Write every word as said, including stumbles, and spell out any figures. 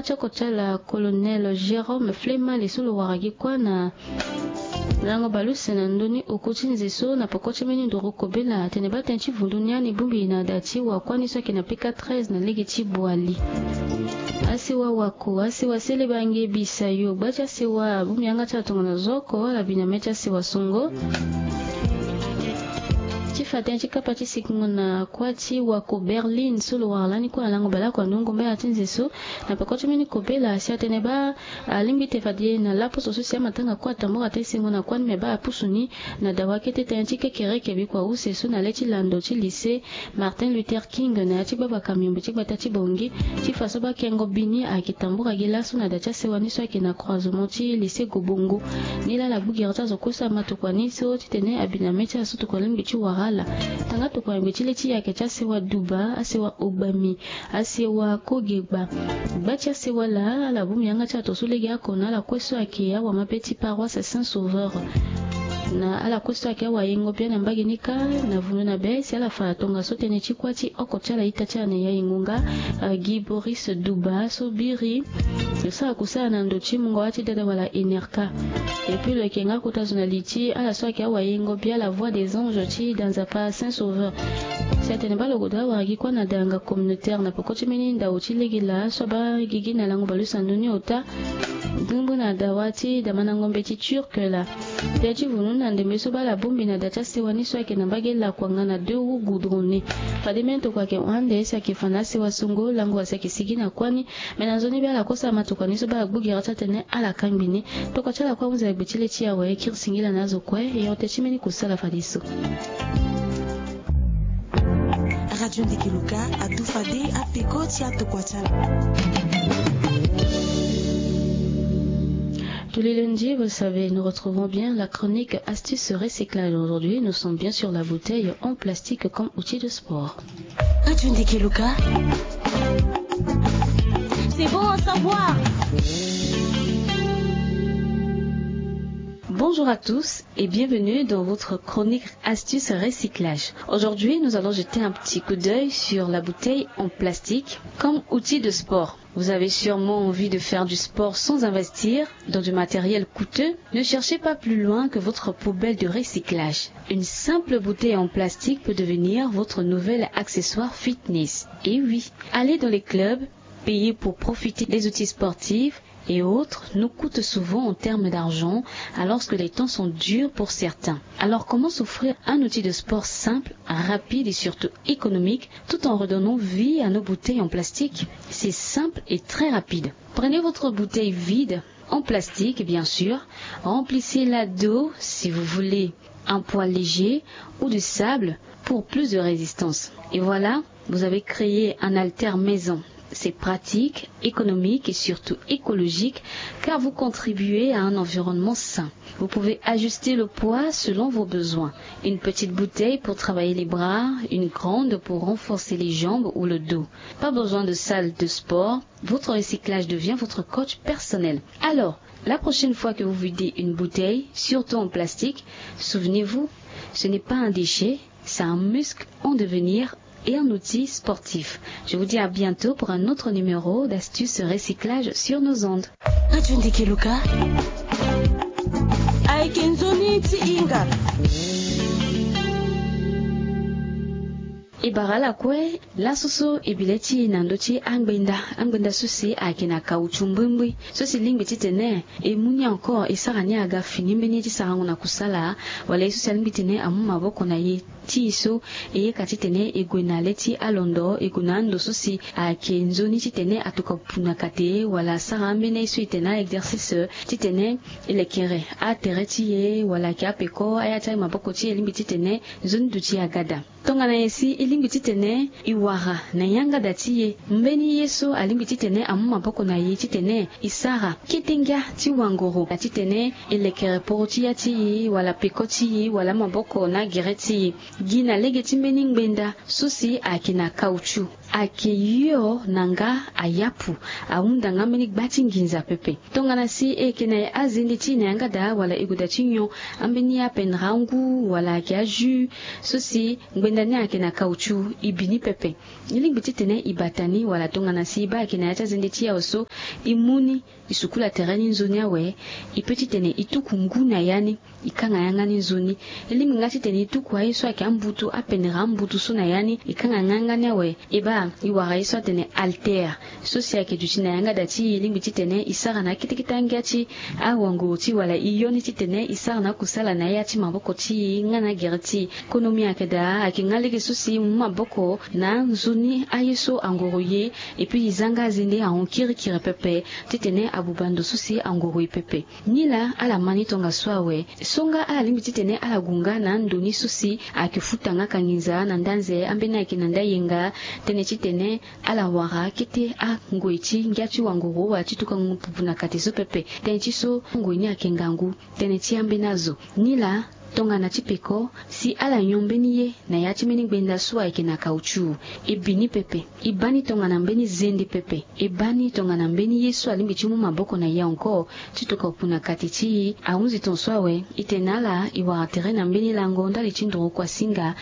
Ti oko ti ala, Colonel Jérôme Flemale, so lo wara gi kuâ na lango baleuse na ndö ni oko ti nze so, na peko ti mbeni nduru kobela, atene baa tënë ti vundu ni ani bongbi na da ti wakuâ ni so ayeke na P K treize na lege ti Boali. Asewa wako, asewa sele bange bisayo, gba ti asewa abongbi yanga ti ala tongana zo oko, ala bi na mê ti asewa songo. Ti fa tënë ti kapa ti sikingo na kuâ ti wako Berlin so lo wara lani kue na lango baleoko na ndö ngombe ya ti nze so, na peko ti mbeni kobela si atene baa alingbi te fade na laposo so si amatanga kue atambura ti sengo na kuâ ni, me baa apusu ni na dawa kete tënë ti kekereke bikua use so na le ti lando ti lycée Martin Luther King na ya ti gbabaka miombe ti gbata ti Bangui, ti fa so baa kengo bi ni ayeke tambura gi laso na da ti asewa ni so ayeke na croisement ti lycée Gobongo. Nilaa ala gbu gere ti azo kue so amatokua ni so titene abi na mê ti ala so tokua lingbi ti wara ala. Tanga tokua yangbe ti le ti yake ti asewa Duba, asewa Ogbami, asewa Koge gba. Gba ti asewa laa, ala bongbi yanga ti ala to so lege oko na ala kue so ayeke awamabe ti paroisse Saint Sauveur. Na ala kue so ayeke awayengo bia na mbage ni kâ, na vundu na be si ala fa tongaso tënë ti kuâ ti oko ti ala ita ti ala na ya e ngonga, eh, Guy Boris Duba so biri lo sara kusala na ndo ti mungo wâ ti dada wala Enerca. Et puis lo yeke nga kota zo na li ti ala so ayeke awayengo bia La Voix des Anges ti da Nzapa Saint Sauveur. Si atene baa lo goda awara gi kuâ na da yanga communautaire na peko ti mbeni ndao ti lege laa so abaa gigi na lango baleuse na ndö ni ota. Ndungu na dawa ti damana ngombe ti Turc laa. Tënë ti vundu ni na ndembe so baa ala bongbi na da ti asewa ni so ayeke na mbage lakuanga na deux roues goudronnées. Fade mbeni tokua ayeke hon ande si ayeke fa na asewa songo, lango asi ayeke sigi na kuâ ni. Me na nzoni be ala kosa amatokua ni so baa ala gbu gere ti atene ala kangbi ni. Tokua ti ala kue ahunzi na gbe ti le ti awe, kiri singila na azo kue, e hon tënë ti mbeni kusala fadeso. Radio Ndeke Luka adu fade apeko ti atokua ti ala. Tous les lundis, vous le savez, nous retrouvons bien la chronique Astuces Recyclage. Aujourd'hui, nous sommes bien sur la bouteille en plastique comme outil de sport. Radio Ndeke Luka. C'est bon à savoir. Bonjour à tous et bienvenue dans votre chronique Astuces Recyclage. Aujourd'hui, nous allons jeter un petit coup d'œil sur la bouteille en plastique comme outil de sport. Vous avez sûrement envie de faire du sport sans investir dans du matériel coûteux. Ne cherchez pas plus loin que votre poubelle de recyclage. Une simple bouteille en plastique peut devenir votre nouvel accessoire fitness. Et oui, aller dans les clubs, payer pour profiter des outils sportifs et autres nous coûte souvent en termes d'argent, alors que les temps sont durs pour certains. Alors comment s'offrir un outil de sport simple, rapide et surtout économique, tout en redonnant vie à nos bouteilles en plastique ? C'est simple et très rapide. Prenez votre bouteille vide, en plastique bien sûr, remplissez-la d'eau si vous voulez, un poids léger ou de sable pour plus de résistance. Et voilà, vous avez créé un haltère maison. C'est pratique, économique et surtout écologique car vous contribuez à un environnement sain. Vous pouvez ajuster le poids selon vos besoins. Une petite bouteille pour travailler les bras, une grande pour renforcer les jambes ou le dos. Pas besoin de salle de sport, votre recyclage devient votre coach personnel. Alors, la prochaine fois que vous videz une bouteille, surtout en plastique, souvenez-vous, ce n'est pas un déchet, c'est un muscle en devenir et un outil sportif. Je vous dis à bientôt pour un autre numéro d'Astuces Recyclage sur nos ondes. Radio Ndeke Luka. Ayeke nzoni ti hinga. E bara ala kue, laso so e bi le ti e na ndö ti angbenda. Angbenda so si ayeke na caoutchouc mbrimbri. So si lingbi titene e mu ni encore, e sara ni aga fini mbeni ye ti sarango na kusala, wala ye so si alingbi titene amu maboko na ye ti e so e yeka titene e gue na le ti alondo, e gue na ando so si ayeke nzoni titene atokua pu na kate, wala asara ambeni aye so e tene a-exercice titene e lekere atere ti e, wala ayeke apeko aya ti amaboko ti e lingbi titene nzoni duti aga daa. Tongana nyen si e lingbi titene e wara na yanga da ti e mbeni ye so alingbi titene amu maboko na e titene e sara kete ngia ti wangoro, na titene e lekere poro ti ya ti e, wala peko ti e, wala amaboko na agere ti e. Gi na lege ti mbeni ngbenda so si ayeke na caoutchouc. Ayeke yo na nga ayapu, ahunda nga mbeni gba ti nginza pepe. Tongana si e yeke na azende ti e na yanga daa wala e goda ti nyon ambeni apendere angu wala ayeke ajus so si ngbenda ni ayeke na caoutchou, e bi ni pepe. E lingbi titene e bata ni wala tongana si e baa ayeke na ya ti azende ti e awe so, e mu ni, e sukula tere ni nzoni awe. E pe titene e tuku ngu na ya ni, e kanga yanga ni nzoni. E lingbi nga titene e tuku aye so ayeke ambutu, apendere ambutu so na ya ni, e kanga nga yanga ni awe. E baa e wara ye so atene haltère so si ayeke duti na yanga da ti e. E lingbi titene e sara na akete kete angia ti awanguru ti e wala e yo ni titene e sara na akusala na ya ti maboko ti e nga na agere ti e. Konomi ayeke daa, ayeke nga lege so si e mu maboko na nzoni aye so angoro ye. Epui e za nga azende ahon kirikiri pepe titene abuba ndo so si angoro e pepe. Nilaa ala ma ni tongaso awe. So nga ala lingbi titene ala gue nga na ando ni so si ayeke futa nga kanginza na nda nze ambeni ayeke na nda yenga, tënë titene ala wara kete angoi ti ngia ti wangoro wala ti tukangu pupu na kate so pepe. Tënë ti so ngoi ni ayeke ngangu, tënë ti ambeni azo. Nilaa tongana ti peko si ala nyon mbeni ye na ya ti mbeni ngbenda so ayeke na caoutchou, e bi ni pepe. E baa ni tongana mbeni zende pepe. E baa ni tongana mbeni ye so alingbi ti mu maboko na e encore ti toka opu na kati ti e. Ahunzi tongaso awe. E tene na ala e wara tere na mbeni lango ndali ti nduru kuasinga.